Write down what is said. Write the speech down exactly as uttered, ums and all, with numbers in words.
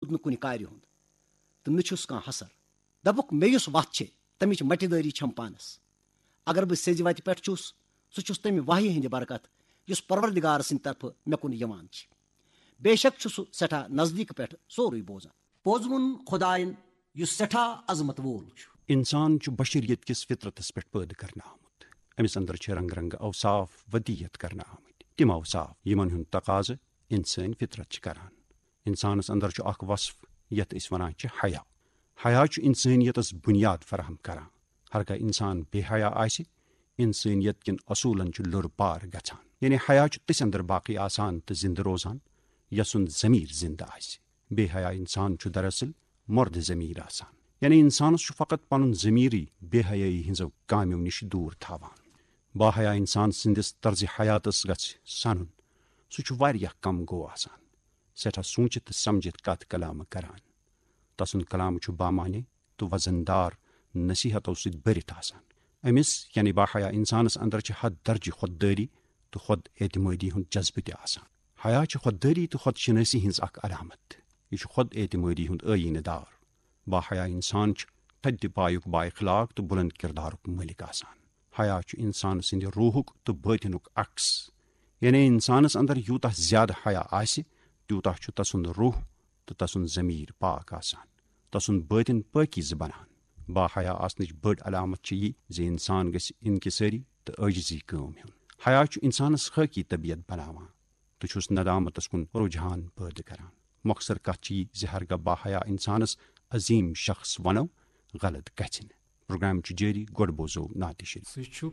روٗد نہٕ کُنہِ کارِ ہُنٛد، تہٕ نہٕ چھُس کانٛہہ حسر۔ دَپُکھ، مےٚ یُس وَتھ چھِ، تَمِچ مَٹہِ دٲری چھَم پانَس۔ اگر بہٕ سیٚزِ وَتہِ پٮ۪ٹھ چھُس، سُہ چھُس تَمہِ وحی ہِنٛدِ برکت، یُس پروردگار سٕنٛدِ طرفہٕ مےٚ کُن یِوان چھِ۔ بے شک چھُ سُہ سٮ۪ٹھاہ نزدیٖک پٮ۪ٹھ سورُے بوزان۔ پوٚز ووٚن خۄدایَن، یُس سٮ۪ٹھاہ عظمت وول چھُ۔ انسان چھُ بشریت کِس فطرتس پٮ۪ٹھ پٲدٕ کرنہٕ آمُت۔ أمِس اندر چھِ رنگ رنگ اوصاف ودیت کرنہٕ آمٕتۍ۔ تِم اوصاف، یِمن ہُنٛد تقاضہٕ انسٲنۍ فطرت چھِ کران۔ انسانس اندر چھُ اکھ وصف، یتھ أسۍ ونان چھِ حیا۔ حیا چھُ انسٲنیتس بنیاد فراہم کران۔ ہرگاہ انسان بے حیا آسہِ، انسٲنیت کٮ۪ن اصوٗلن چھُ لوٚر پار گژھان۔ یعنی حیا چھُ تٔسۍ اندر باقی آسان تہٕ زندٕ روزان، یسُنٛد ضمیر زندٕ آسہِ۔ بے حیا انسان چھُ دراصل مردٕ ضمیر آسان۔ یعنی انسانس چھُ فقط پنُن ضمیرٕے بے حیٲیی ہٕنٛزو کامیو نِش دوٗر تھاوان۔ با حیا انسان سٕنٛدِس طرزِ حیاتس گژھِ سنُن۔ سُہ چھُ واریاہ کم گوٚو آسان۔ سٮ۪ٹھاہ سوٗنچِتھ تہٕ سمجھِتھ کتھ کلامہٕ کران۔ تسُنٛد کلام چھُ بامعنی تہٕ وزن دار نصیحتو سۭتۍ بٔرِتھ آسان۔ أمِس، یعنی با حیا انسانس اندر چھِ حد درجہِ خۄد دٲری تہٕ خۄد اعتمٲدی ہُنٛد جذبہٕ تہِ آسان۔ حیا چھِ خۄد دٲری تہٕ خۄد شنٲسی ہٕنٛز اکھ علامت۔ یہِ چھُ خۄد اعتمٲدی ہُنٛد ٲیٖنہٕ دار۔ با حیا انسان چھُ تھدِ پایُک با اخلاق تہٕ بلند کردارُک مٲلِک آسان۔ حیا چھُ انسان سٕنٛدِ روحُک تہٕ بٲطنُک عکس۔ یعنی انسانس اندر یوٗتاہ زیادٕ حیا آسہِ، تیوٗتاہ چھُ تسُنٛد روح تہٕ تسُنٛد ضمیر پاک آسان، تسُنٛد بٲطن پٲکیزٕ بنان۔ با حیا آسنٕچ بٔڑ علامت چھِ یہِ زِ انسان گژھِ انکسٲری تہٕ عٲجزی کٲم ہیوٚن۔ حیا چھُ انسانس خٲکی طبیعت بناوان تہٕ چھُس ندامتس کُن رجحان پٲدٕ کران۔ مۄخصر کتھ چھِ یہِ زِ ہرگاہ با حیا انسانس عظیم شخص ونو، غلط گژھِ نہٕ۔ پروگرام چھُ جٲری، گۄڈٕ بوزو نعتِ شریف۔ سُہ چھُ